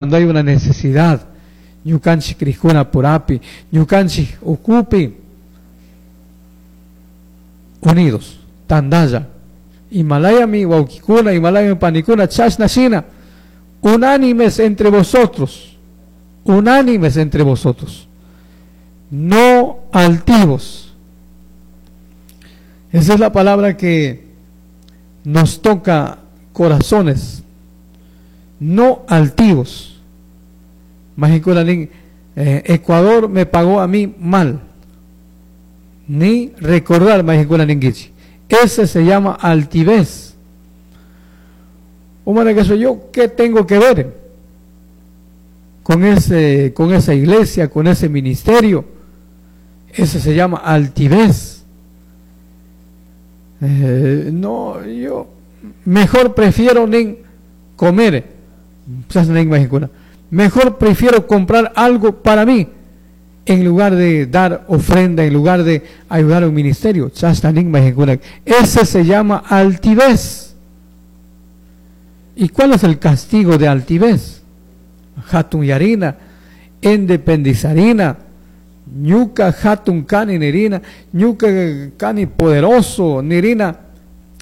Cuando hay una necesidad, ñukanchik crijkuna purapi, ñukanchik ukupi, unidos, tandalla. Imalayami wawkikuna, imalayami panikuna, chashna shina, unánimes entre vosotros, unánimes entre vosotros, no altivos. Esa es la palabra que nos toca corazones, no altivos. Ecuador me pagó a mí mal. Ni recordar ninguichi. Ese se llama altivez. Que soy yo, ¿qué tengo que ver con esa iglesia, con ese ministerio? Ese se llama altivez. No, yo mejor prefiero ni comer. Mejor prefiero comprar algo para mí en lugar de dar ofrenda, en lugar de ayudar a un ministerio. Ese se llama altivez. ¿Y cuál es el castigo de altivez? Hatun yarina, independizarina, ñuka hatun kani nirina, ñuka kani poderoso nirina.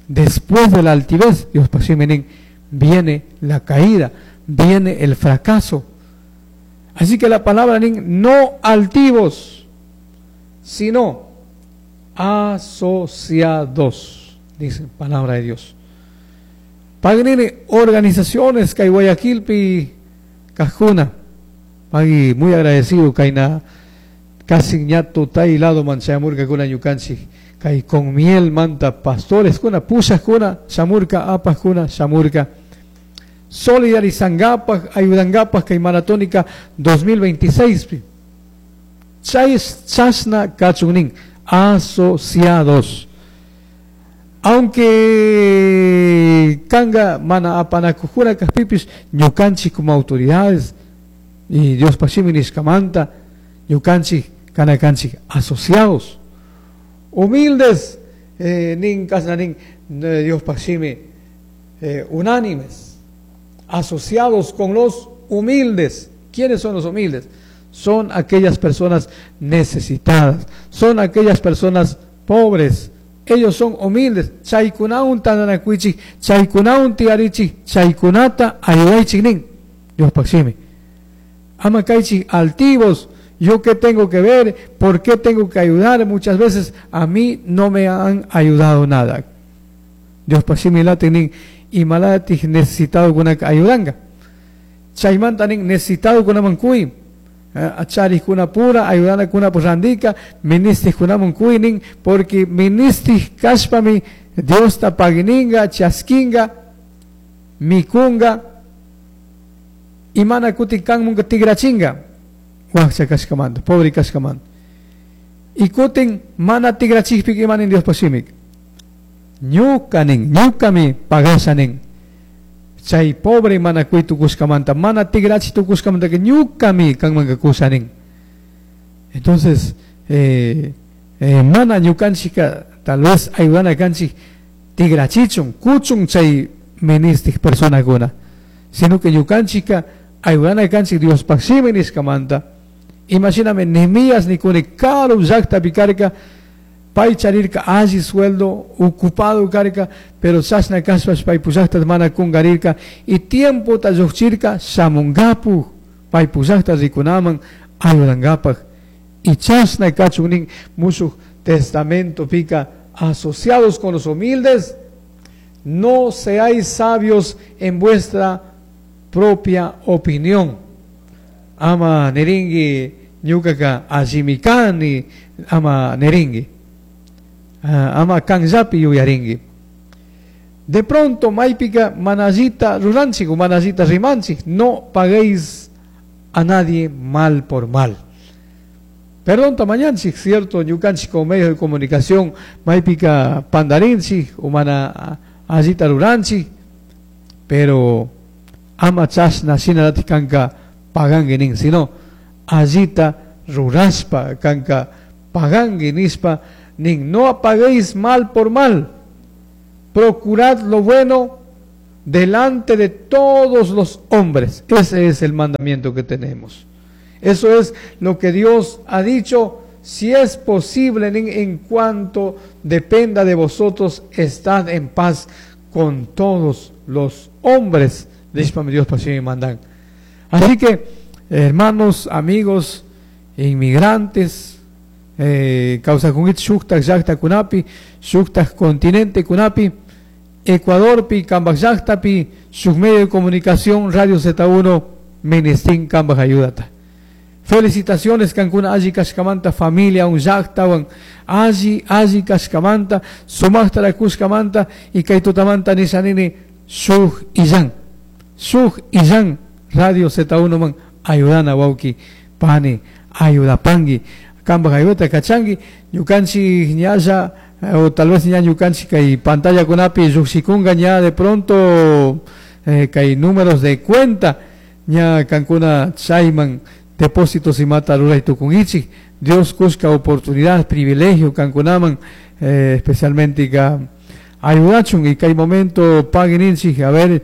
Después de la altivez, Dios pasimenin, viene la caída, viene el fracaso. Así que la palabra no altivos, sino asociados, dice palabra de Dios. Pagnini organizaciones kay Guayaquilpi kajuna. Pagui muy agradecido kaina casi ñato tai lado manchamurka kuna ñukanchik kay con miel manta pastores kuna pushas kuna shamurka apas kuna shamurka. Solidarizangapaj, ayudangapaj kay maratónica 2026. Chay chasna kachunin, asociados. Aunque kanga mana apanakujura kajpipis, ñukanchik como autoridades y Dios pashimi nishkamanta, ñukanchik kanakanchik asociados, humildes, nin kasna nin Dios pashimi, unánimes, asociados con los humildes. ¿Quiénes son los humildes? Son aquellas personas necesitadas, son aquellas personas pobres. Ellos son humildes. Chaykunaun tandanakuichik, chaykunaun tiarichik, chaykunata ayudaichik nin. Dios pashimi. Ama kaychik altivos. ¿Yo qué tengo que ver? ¿Por qué tengo que ayudar? Muchas veces a mí no me han ayudado nada. Dios pashimi latinin y malatik necesitado kuna ayudanga. Chaymanta nin necesitado kuna mankui. Achari kuna pura, ayudana kuna purandika, ministis kuna mankui nin, porque ministis kashpami Dios ta pagininga, chaskinga, mikunga, imana kuti kanmunga tigrachinga. Wakcha kashkamanta, pobre kashkamanta. Y kutin mana tigrachikpik imanin Dios pashimik. Ñuka nin, ñukami pagasha nin. Chay pobre mana kui tukushkamanta, mana tigrachi tukushkamanta que ñukami kanmanka kusha nin. Entonces, mana ñukanchika tal vez ayudana kanchik tigrachichun, kuchun chay ministik personakuna, sino que ñukanchika ayudana kanchik Dios pashimi nishkamanta. Imagíname Nehemías nikuni karu llaktapi picarca, pay charirka alli sueldo, ocupado karka, pero chashna kashpash pay pushakta mana kungarirka, y tiempo ta lluqchirka shamungapu, pay pushakta rikunaman ayudangapaj. Y chashna kachun nin mushuj testamento pica, asociados con los humildes, no seáis sabios en vuestra propia opinión. Ama neringui ñukaka allimikani, ama neringui. Ama kanllapi yuyaringui. De pronto maypika manallita ruranchik o manallita rimanchik, no paguéis a nadie mal por mal. Perdón tamañanchik, cierto, ñukanchik con medios de comunicación, maypika pandarinchik o mana allita ruranchik, pero ama chashna shinalati kanka pagangui nin, sino allita ruraspa kanka pagangui nispa nin, no apaguéis mal por mal, procurad lo bueno, delante de todos los hombres. Ese es el mandamiento que tenemos. Eso es lo que Dios ha dicho. Si es posible, en cuanto dependa de vosotros, estad en paz con todos los hombres. Dios mandan. Así que, hermanos, amigos, inmigrantes, kawsakunkichik shuktak llaqtakunapi, shuktak continente kunapi, Ecuadorpi, kambaj llaqtapi, shuk medio de comunicación, Radio Z1, ministin kambaj ayudata. Felicitaciones kankuna alli kashkamanta familia un llaqtawan alli alli kashkamanta sumaqtara kushkamanta y kay tutamanta nishanini shuk illan Radio Z1 man ayudana wawki pani ayudapangi kambaj ayudata kachangi ñukanchik ñalla o tal vez ña ñukanchik kay pantalla kunapi lluqshikunga ña de pronto kay números de cuenta ña kankuna chayman depósitos imata ruray tukunkichik. Dios kushka oportunidad, privilegio kankunaman, especialmente ka ayudachun y kay momento pagueninchik, a ver,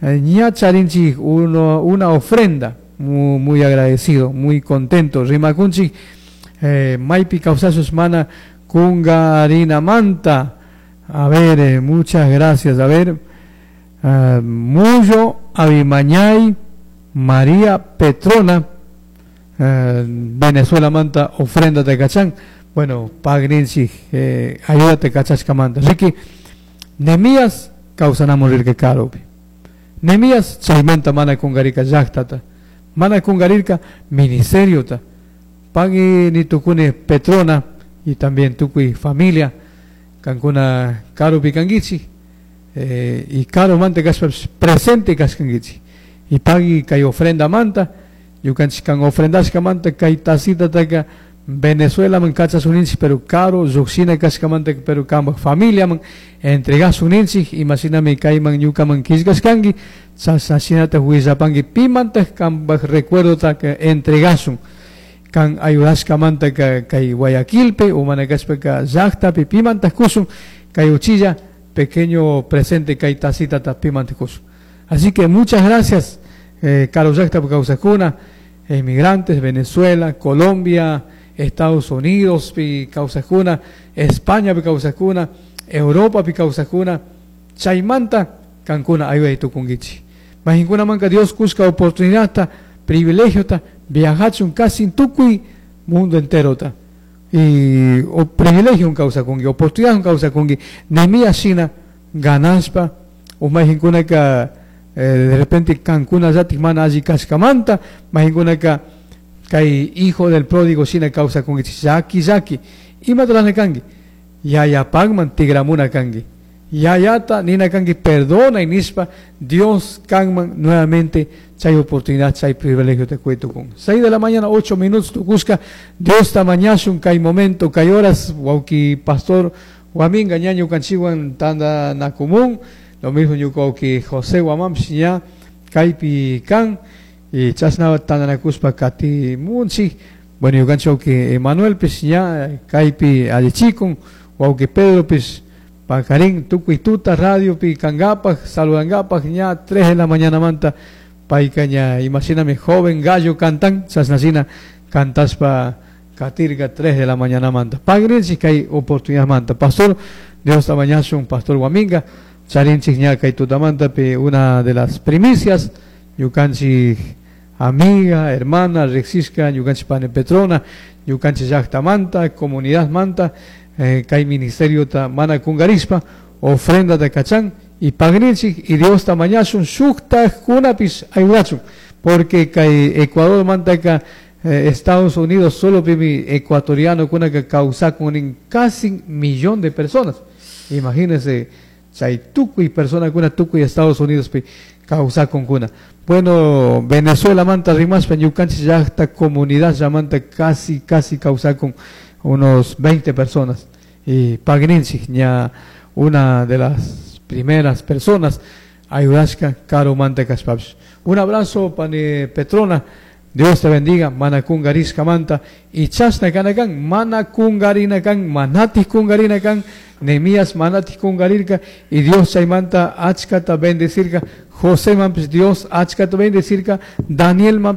ña charinchik una ofrenda, muy, muy agradecido, muy contento. Rimakunchik, maypi kawsashus mana kungarinamanta. A ver, muchas gracias. A ver, Muyo Abimañay María Petrona, Venezuela manta ofrenda de cachán. Bueno, pagrinchi, ayúdate cachashkamanta. Así que Nehemías kawsanamon rirka karupi. Nehemías chaymanta mana kungarika llaqtata, mana kungarirka ministeriota. Pagui ni tukuni Petrona y también tukuy familia kankuna karupi kankichik, y karumanta kashpapish presente kashkankichik. Y pagui kay ofrenda manta, ñukanchik kan ofrendashkamanta kay tasitataka Venezuela man kachasuninchik, pero karu lluqshina kashkamanta, pero kambaj familia man entregasuninchik. Imashinami kayman ñukaman killkashkanki, chashnashinata willapanki pimantaq kambaj recuerdotaka entregasun kan ayudashkamanta kay Guayaquilpi o mana kashpaka llaqtapi pimantaq kusun kay uchilla pequeño presente kay tasitata pimantaq kusun. Así que muchas gracias, karu llaqtapi kawsakuna, inmigrantes, Venezuela, Colombia, Estados Unidos pi kawsakuna, España pi kawsakuna, Europa pi kawsakuna, chaymanta kankuna ayuday tukunkichik. Mahinkunamanka Dios kushka oportunidadta, privilegiota, viajachun casi tukuy mundo enterota. Y o privilegio kawsakunki, oportunidad kawsakunki, Nehemías shina ganashpa, o mahinkunaka de repente kankuna llatik mana alli kashkamanta, mahinkunaka kay hijo del pródigo shina kawsakunkichik, llaki llaki, imatalana kanki, yayapakman tigramuna kanki, yayata nina kanki perdona y nishpa, Dios kanman nuevamente chay oportunidad, chay privilegio te cuento con 6 de la mañana, 8 minutos tukushka, Dios ta mañashun kay momento, kay horas, wawki pastor Guaminga ñañu kanchiwan tanda na común, lo mismo ñuka wawki José Guamampish ña kaypi kan, y chashna tandanakuspa katimunchik. Bueno, ñukanchik wawki Emanuelpish ña kaypi allichikun, wawki Pedropish pakarin tukuy tuta radiopi kankapaj, saludankapaj ña 3 de la mañana manta payka ña imashinami joven gallo cantan, chashnashina cantaspa katirka 3 de la mañana manta. Pagrinchik kay oportunidad manta. Pastor, Dios ta mañashun, Pastor Guaminga, charinchik ña kay tutamantapi una de las primicias, ñukanchik amiga, hermana, riqsishka, ñukanchik pani Petrona, ñukanchik llaqtamanta, comunidad manta, kay ministerio ta mana kungarishpa, ofrenda de kachan y pagrinchik y Dios ta mañashun shuktajkunapis ayudachun, porque kay Ecuador mantaka Estados Unidos solo pimi ecuatoriano kunaka kawsakun casi millón de personas. Imagínense, chay tukuy persona kuna tukuy Estados Unidos pi kawsakun kuna. Bueno, Venezuela manta rimashpa ñukanchik llaqta comunidad llamanta casi casi kawsakun unos 20 personas. Y pagrinchik ña una de las primeras personas ayudashka karu manta kashpapish. Un abrazo pani Petrona, Dios te bendiga, mana cungarishkamanta y chashna kana kan, mana cungarina kan, manatik cungarina kan, Nehemías manatik cungarirka y Dios chaymanta achkata bendecirka, José manpish Dios achkata bendecirka, Daniel manpish.